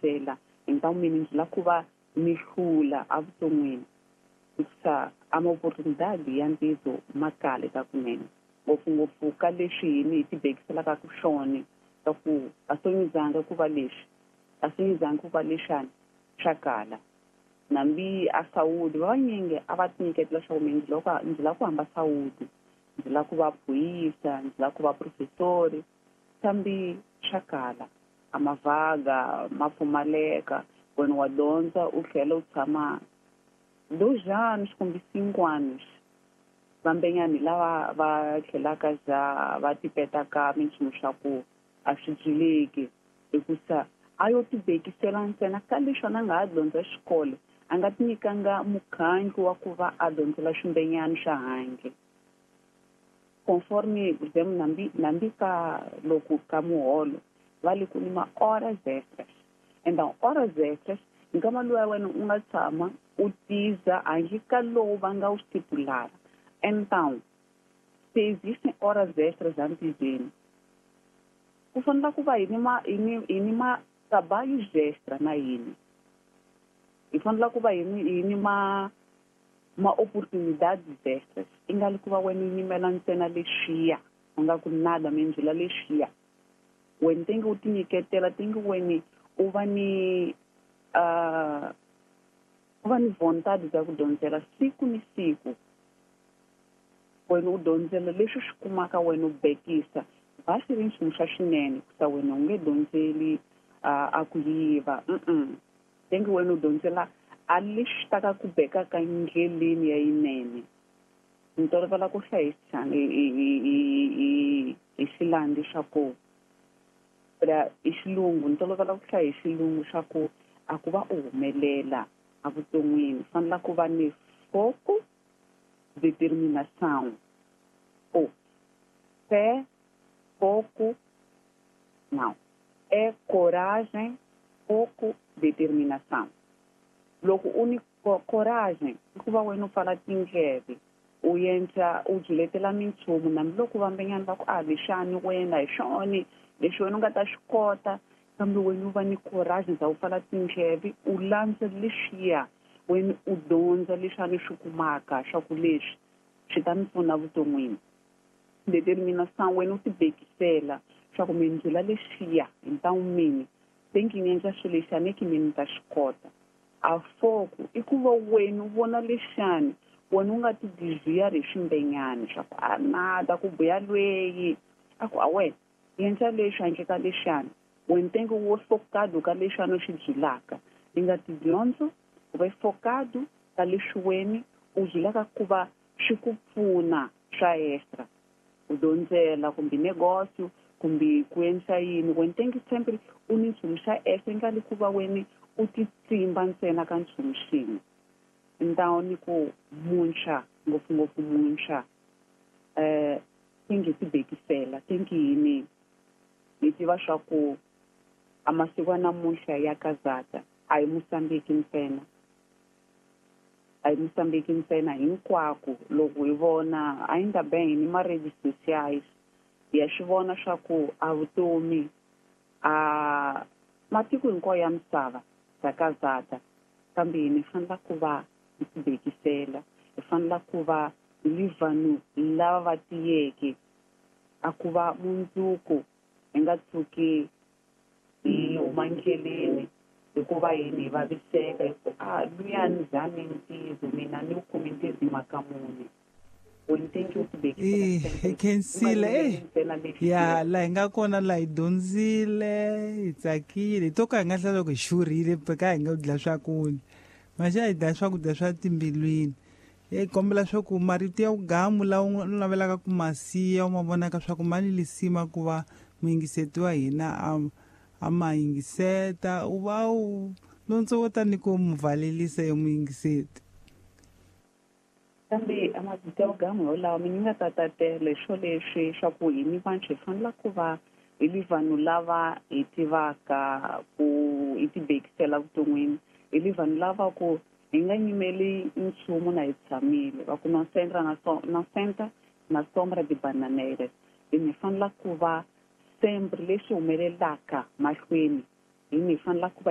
dyondzela então mina ndzi lava ku va ni hlula evuton'wini hikusa a ma-oportunidade ya ntidzo ma kale ka kunene ngopfungopfu ka leswi hini hi tibekiselaka ku swona ka ku a sonyizanga ku va leswi a sonyizanga ku va lexani swa kala nambi a Saudi va vanyingi a va tinyiketela swa ku mina ndzi lava ku hamba Saudi ndzi lava ku va phuyisa ndzi lava ku va professori kambe swa kala a mavaga ma pfumaleka wena wa dyondza u tlhela u tshama 2 anos kumbe 5 anos vambenyani lava va tlhelaka za va tipetaka minchumu swa ku a swi byileki hikusa a yo tibekisela ntsena ka leswi a nga ha dyondza xikolo a nga tinyikanga mukhandlu wa ku va a dyondzela swimbenyani swa handle conforme por exemplo nambi ka loko ka muholo va le ku ni ma horas extras então horas extras nkama luwa wena u nga tshama u tiza handle ka lowu va nga wu stipulara então se existem horas extras antizeni ku fanele ku va hi ni ma trabalhos extra na yini hi fanele ku va hi ni ma oportunidades extras i nga li ku va wena u yimela ntsena lexiya u nga ku nada mindzula lexiya wena tenge u tinyiketela tenge wena u va ni u va ni vontade bya ku dyondzela siku ni siku wena u dyondzela leswi swi kumaka wena u bekisa va swi ri nchumu xa swinene kusa wena u nge dyondzeli a ku yiva tenge wena u dyondzela a lexi taka ku beka ka ndleleni ya yinene ni tolovela ku hlaya hi xilandi swa ku hi xilungu ni tolovela ku hlaya hi xilungu swa ku a ku va u humelela evuton'wini fanela ku va ni foco determinação ou fé foco não é coragem foco determinação loko u ni coragem i ku va wena u pfala tindleve u endla u byiletela minchumu nambiloko vambenyani va ku a lexani wena hi swona leswi wena u nga ta swi kota kambe wena u va ni coragem bya ku pfala tindleve u landza leswiya wena u dyondza leswi swi kumaka swa ku leswi swi ta mi pfuna vuton'wini determinação wena u tibekisela swa ku mindzula lexiya hi ntawu mini thinking endla swilo lexi a ni ki mina ni ta swi kota a foco i ku va wena u vona lexani wena u nga ti desviar hi swimbenyani swa ku a nada ku buya lweyi a ku a wena endla leswi handle ka lexani wena tenge wo focado ka leswi u swi byulaka i nga tidyondzo u va focado ka leswi wena u byulaka ku va swi ku pfuna swa extra u dyondzela kumbe negócio kumbe ku endla yini wena tenge sempre u ni nchumu xa extra i nga li ku va wena u titsimba ntsena ka nchumu xin'we então ni ku muntshwa ngopfungopfu muntshwa tenge tibekisela tenge yini hi tiva swa ku a masiku ya namuntlha ya kazata a hi Mozambique ntsena a hi Mozambique ntsena hinkwako loko hi vona ainda bem ni ma-redes sociais ya swi vona swa ku a vutomi a matiko hinkwayo ya misava bya kazata kambe hina hi fanela ku va hi tibekisela hi fanela ku va hi vanhu lava va tiyeke a ku va mundzuku hi nga tshuki hi huma ndleleni hikuva yini hi vaviseka hi ku a luyani zami ntizo mina ni wu kumi ntizo hi mhaka muni hi khensile ya laha hi nga kona laha hi dyondzile hi tsakile hi to ka hi nga hlaya loko hi xurhile ka hi nga dla swakudya maxa hi dla swakudya swa timbilwini hi kombela swa ku marito ya vugamu lawa u navelaka ku ma siya u ma vonaka swa ku ma ni lisima ku va muyingiseti wa hina a ma yingiseta u va u lontso wo tani ku mu valelisa yo muyingiseti kambe a mavito ya vugamu yolawa mina nga ta tatela swo leswi swa ku hi ni vantshwa hi fanela ku va hi li vanhu lava hi tivaka ku hi tibekisela vuton'wini hi li vanhu lava ku hi nga nyimeli nchumu na hi tshamile va ku no centra na senta na sombra de bananeiras hi ni fanela ku va sempre leswi humelelaka mahlweni hi ni fanela ku va